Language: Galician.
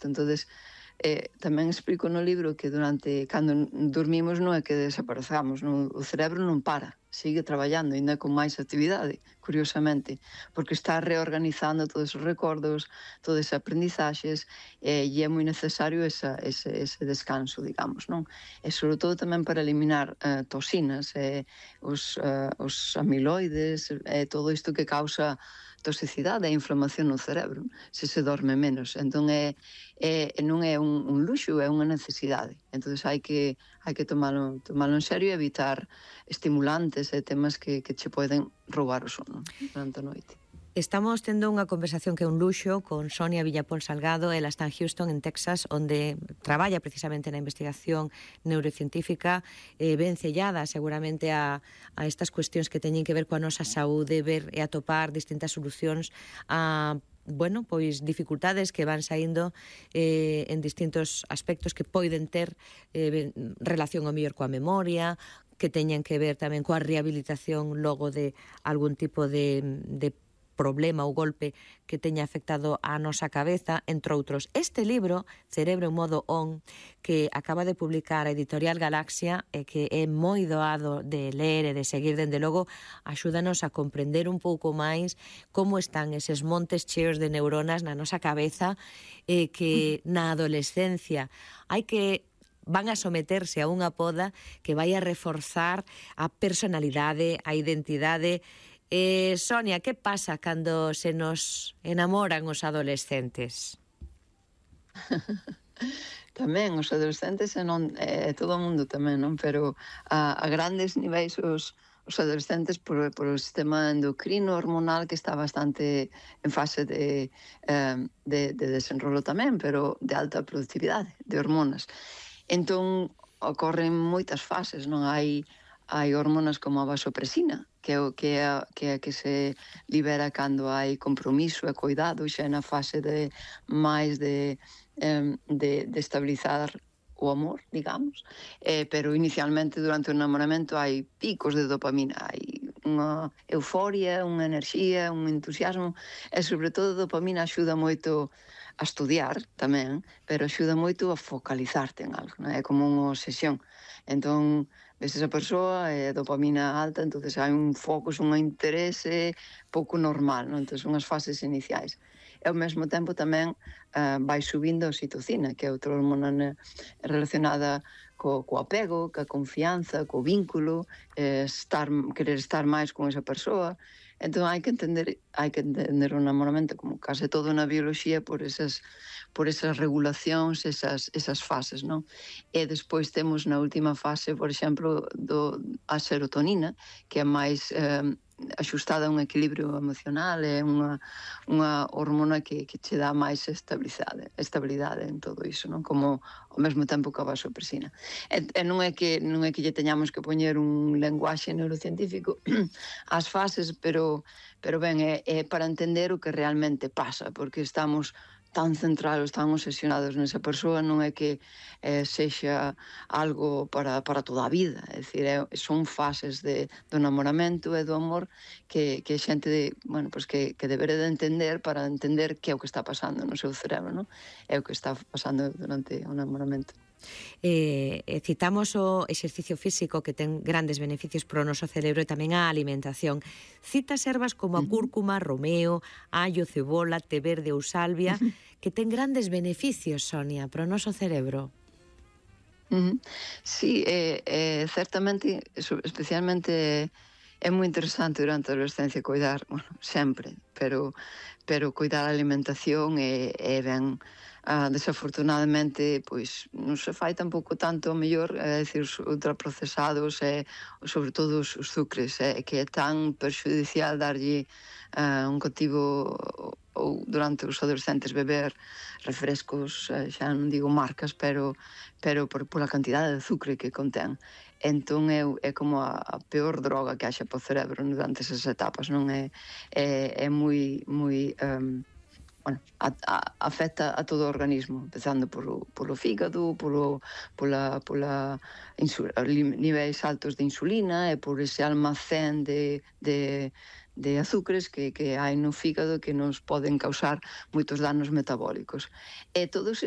Entonces, tamén explico no libro que cando dormimos non é que desaparezamos, o cerebro non para, sigue traballando, ainda con máis actividade, curiosamente, porque está reorganizando todos os recordos, todas as aprendizaxes, e é moi necesario ese descanso, digamos, non? E sobre todo tamén para eliminar toxinas, os amiloides, todo isto que causa toxicidade e inflamación no cerebro, se dorme menos. Entón, non é un luxo, é unha necesidade. Entón, hai que tomalo en serio e evitar estimulantes e temas que che poden roubar o sono durante a noite. Estamos tendo unha conversación que é un luxo con Sonia Villapol Salgado. Ela está en Houston, en Texas, onde traballa precisamente na investigación neurocientífica, ben cellada seguramente a estas cuestións que teñen que ver coa nosa saúde, ver e atopar distintas solucións a pois dificultades que van saindo en distintos aspectos que poden ter relación ao mellor coa memoria, que teñen que ver tamén coa rehabilitación logo de algún tipo de problema ou golpe que teña afectado a nosa cabeza, entre outros. Este libro, Cerebro en modo on, que acaba de publicar a editorial Galaxia, e que é moi doado de ler e de seguir, dende logo, axúdanos a comprender un pouco máis como están eses montes cheos de neuronas na nosa cabeza, que na adolescencia van a someterse a unha poda que vai a reforzar a personalidade, a identidade. Sonia, que pasa cando se nos enamoran os adolescentes? Tamén, os adolescentes todo o mundo tamén, non? Pero a grandes niveis os adolescentes por o sistema endocrino hormonal que está bastante en fase de desenrolo tamén, pero de alta productividade de hormonas. Entón, ocorren moitas fases, non? Hai hormonas como a vasopresina, que é a que se libera cando hai compromiso e cuidado, xa na fase máis de estabilizar o amor, digamos, pero inicialmente durante o enamoramento hai picos de dopamina, hai unha euforia, unha enerxía, un entusiasmo, e sobre todo a dopamina axuda moito a estudiar tamén, pero axuda moito a focalizarte en algo, non? É como unha obsesión. Entón, ves esa persoa e a dopamina alta, entonces hai un foco, un interese pouco normal, non? Entón, son as fases iniciais. E ao mesmo tempo tamén vai subindo a oxitocina, que é outra hormona relacionada co apego, coa confianza, co vínculo, querer estar máis con esa persoa. Entón hai que entender o namoramento como case todo na bioloxía por esas regulacións, esas fases, non? E despois temos na última fase, por exemplo, a serotonina, que é máis axustada a un equilibrio emocional, é unha hormona que che dá máis estabilidade en todo iso, non? Como ao mesmo tempo que a vasopresina. E non é que lle teñamos que poñer un lenguaxe neurocientífico ás fases, pero ben, é para entender o que realmente pasa, porque estamos tan centrados, tan obsesionados nesa persoa, non é que sexa algo para toda a vida. É dicir, son fases do namoramento e do amor que a xente que debere de entender para entender que é o que está pasando no seu cerebro, non? É o que está pasando durante o namoramento. Citamos o exercicio físico, que ten grandes beneficios para o noso cerebro, e tamén a alimentación. Citas ervas como a cúrcuma, romeo, allo, cebola, té verde ou salvia, que ten grandes beneficios, Sonia, para o noso cerebro. Sí, certamente, especialmente é moi interesante durante a adolescencia coidar, sempre, pero coidar a alimentación é ben. Desafortunadamente, pois non se fai tampouco tanto o mellor, é dicir, os ultraprocesados e sobre todo os sucres, que é tan perxudicial darlle un cativo ou durante os adolescentes beber refrescos, xa non digo marcas, pero pola cantidade de azúcar que contén. Entón é como a peor droga que haxa para o cerebro durante esas etapas, non é moi afecta a todo o organismo, empezando polo fígado, pola niveis altos de insulina e por ese almacén de azúcares que hai no fígado que nos poden causar moitos danos metabólicos. E todos